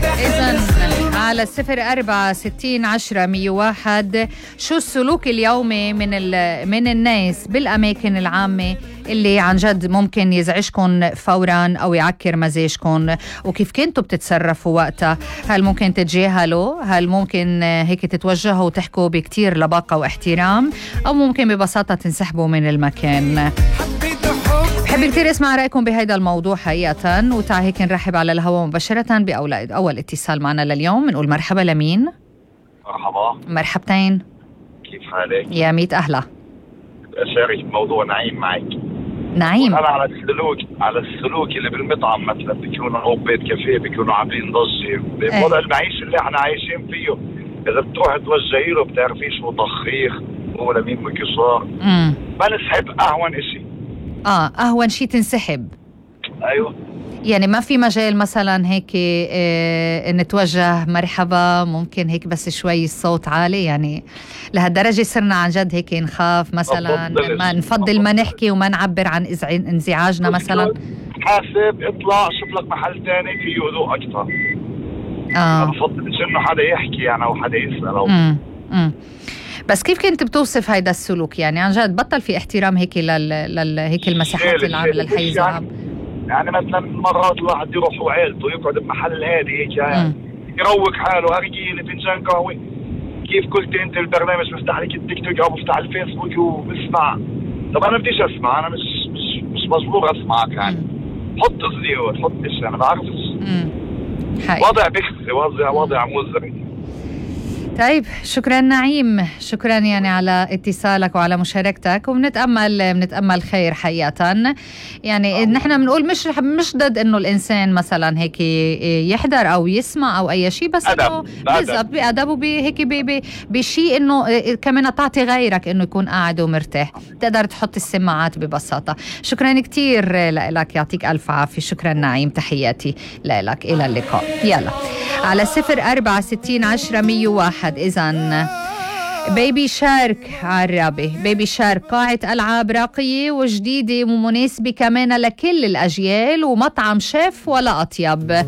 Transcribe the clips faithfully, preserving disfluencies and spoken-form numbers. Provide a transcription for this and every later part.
إذن على الصفر أربعة ستين عشرة مية واحد، شو السلوك اليومي من من الناس بالأماكن العامة اللي عن جد ممكن يزعجكم فورا أو يعكر مزاجكم، وكيف كنتوا بتتصرفوا وقتها؟ هل ممكن تتجاهلوا؟ هل ممكن هيك تتوجهوا وتحكوا بكتير لباقة واحترام؟ أو ممكن ببساطة تنسحبوا من المكان؟ بحب كتير اسمع رأيكم بهيدا الموضوع حقيقة. وتعا هيك نرحب على الهواء مباشرة بأول أول اتصال معنا لليوم. نقول مرحبا لمين؟ مرحبا. مرحبتين. كيف حالك؟ يا ميت أهلا. أشارك موضوع نعيم معك. نعيم. أنا على السلوك على السلوك اللي بالمطعم مثلا بيكونوا أو بيت كافيه بيكونوا عاملين ضجة بوضع المعيشة اللي احنا عايشين فيه. إذا بتروح توجهي له بتعرفيش هو طخيخ هو لمين مكسار. امم ما نسحب أهون إشي. اه أهون شي تنسحب. أيوه. يعني ما في مجال مثلا هيك اه نتوجه مرحبا، ممكن هيك بس شوي الصوت عالي، يعني لهالدرجة صرنا عن جد هيك نخاف مثلا، ما نفضل ما نحكي وما نعبر عن انزعاجنا مثلا. حاسب اطلع شوف لك محل تاني فيه هدوء أكتر. اه ما بفضلش إنه حدا يحكي يعني أو حدا يسأل أو امم امم بس كيف كنت بتوصف هيدا السلوك؟ يعني عن جد بطل في احترام هيك لل, لل... هيك المساحات العامة للحيز العام. يعني مثلا مرات الواحد يروح وعيلته يقعد بمحل هادي هيك يعني يروق حاله هرجيلي فنجان قهوة. كيف قلت انت البرنامج بفتح لك التيك توك او بفتح الفيسبوك وبسمع. طب انا بديش اسمع، انا مش مش مش مجبور اسمعك يعني. حط زيوت حط ايش انا بعرفش. وضع بخزي وضع وضع مزري. طيب شكرا نعيم، شكرا يعني على اتصالك وعلى مشاركتك، وبنتأمل بنتأمل خير حقيقة. يعني نحن بنقول مش مش ضد انه الانسان مثلا هيك يحضر او يسمع او اي شيء، بس انه بالضبط بأدب وبهيك بشيء انه كمان تعطي غيرك انه يكون قاعد ومرتاح، تقدر تحط السماعات ببساطة. شكرا كتير لك، يعطيك الف عافية. شكرا نعيم، تحياتي لك، الى اللقاء. يلا على صفر أربعة ستين عشرة مية واحد. إذن بيبي شارك عرابي، بيبي شارك قاعة ألعاب راقية وجديدة ومناسبة كمان لكل الأجيال، ومطعم شيف ولا أطيب.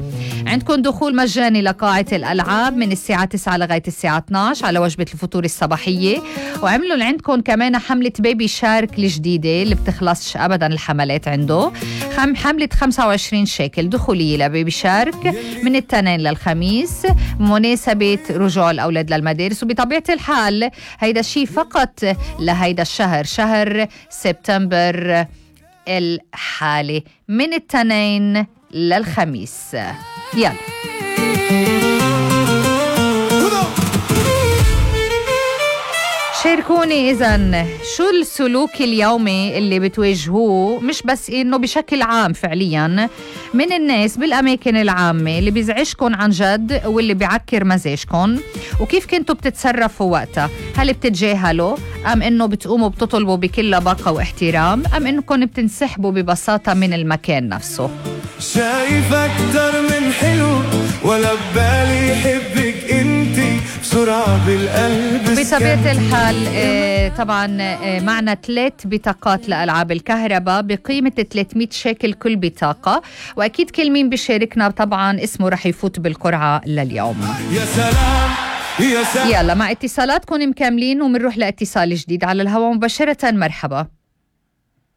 عندكم دخول مجاني لقاعة الألعاب من الساعة تسعة لغاية الساعة اثنعش على وجبة الفطور الصباحية. وعملوا عندكم كمان حملة بيبي شارك الجديدة اللي بتخلصش أبدا الحملات عنده، خم حملة خمسة وعشرين شيكل دخولية لبيبي شارك من التنين للخميس، مناسبة رجوع الأولاد للمدارس. وبطبيعة الحال هيدا الشيء فقط لهيدا الشهر، شهر سبتمبر الحالي، من التنين للخميس. يلا شاركوني إذن شو السلوك اليومي اللي بتواجهوه، مش بس إنه بشكل عام فعليا من الناس بالأماكن العامة اللي بيزعجكم عن جد واللي بيعكر مزاجكم، وكيف كنتوا بتتصرفوا وقتها؟ هل بتتجاهلوا أم إنه بتقوموا بتطلبوا بكل لباقة واحترام، أم إنكم بتنسحبوا ببساطة من المكان نفسه؟ شايف أكتر من حلو ولا ببالي يحبك انتي بسرعة بالقلب. بطبيعة الحال آه طبعا آه معنا ثلاث بطاقات لألعاب الكهرباء بقيمة ثلاثمية شيكل كل بطاقة، وأكيد كل مين بيشاركنا طبعا اسمه رح يفوت بالقرعة لليوم. يا سلام يا سلام. يلا مع اتصالاتكم مكملين ومنروح لاتصال جديد على الهواء مباشرة. مرحبا.